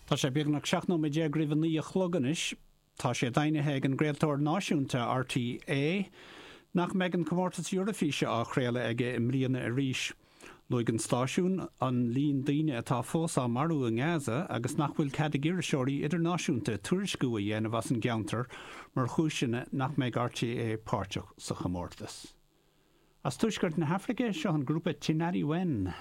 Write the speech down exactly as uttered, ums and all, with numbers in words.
Tá sé beagnach seacht nóiméad déag roimh a naoi a chlog anois. Tá sé deimhnithe ag an gcraoltóir náisiúnta RTÉ nach mbeidh an comórtas Eoraifíse á chraoladh aige i mbliana arís. Luaigh an stáisiún an líon daoine atá fós á marú i nGaza agus nach bhfuil cead ag iriseoirí idirnáisiúnta tuairisciú a dhéanamh as an gceantar mar chúiseanna nach mbeidh RTÉ páirteach sa chomórtas. As tuaisceart na hAfraice seo an grúpa Tinariwen.